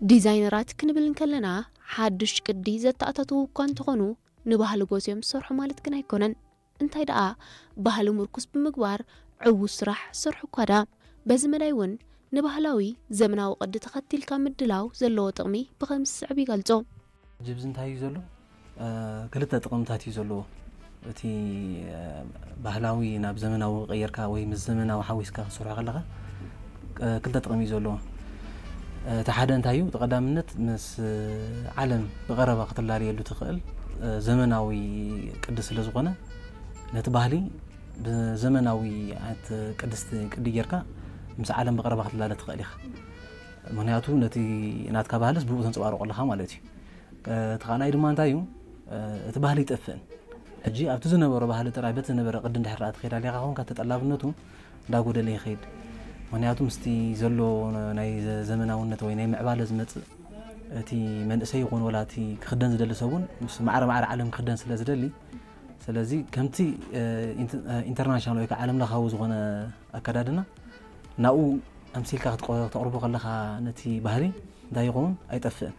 ዲዛይነራት ክንብል እንከለና ሓድሽ ቅዲ ዘተኣታተዉ እኳ እንተኾኑ ንባህሊ ጎስዮም ዝሰርሑ ማለት ግን ኣይኮነን። እንታይ ደኣ ባህሊ ምርኩስ ብምግባር ዕዉት ስራሕ ዝሰርሑ እኳ ደኣ። በዚ መዳይ እውን ንባህላዊ ዘመናዊ ቅዲ ተኸቲልካ ምድላው ዘለዎ ጥቕሚ ብኸምዚ ዝስዕብ ይገልጾ። ጅብዚ እንታይ እዩ ዘሎ? ክልተ ጥቕምታት እዩ ዘለዎ። እቲ ባህላዊ ናብ ዘመናዊ ቀየርካ ወይ ምስ ዘመናዊ ሓዊስካ ክትሰርሖ ከለኻ ክልተ ጥቕሚ እዩ ዘለዎ። እቲ ሓደ እንታይ እዩ? እቲ ቀዳምነት ምስ ዓለም ብቐረባ ክትላለየሉ ትኽእል ዘመናዊ ቅዲ ስለ ዝኾነ ነቲ ባህሊ ብዘመናዊ ዓይነት ቅድስቲ ቅዲ ጌርካ ምስ ዓለም ብቐረባ ክትላለ ትኽእል ኢኻ። ምክንያቱ ነቲ ናትካ ባህልስ ብኡ ተንፀባርቆ ኣለኻ ማለት እዩ። እቲ ካልኣይ ድማ እንታይ እዩ? እቲ ባህሊ ይጠፍእን ሕጂ ኣብቲ ዝነበሮ ባህሊ ጥራይ በቲ ዝነበረ ቅዲ እንድሕር ደኣ ትኸይድ ኣሊኻ ኾንካ ተጠላብነቱ እንዳጎደለ ይኸይድ። ምክንያቱ ምስቲ ዘሎ ናይ ዘመናውነት ወይ ናይ ምዕባለ ዝመፅእ እቲ መንእሰይ ይኹን ወላ እቲ ክኽደን ዝደሊ ሰብ እውን ምስ ማዕረ ማዕረ ዓለም ክኽደን ስለ ዝደሊ ስለዚ ከምቲ ኢንተርናሽናል ወይ ከዓ ዓለም ለኻዊ ዝኾነ ኣከዳድና ናብኡ ኣምሲልካ ክተቕርቦ ከለኻ ነቲ ባህሊ እንታይ ይኸውን ኣይጠፍእን።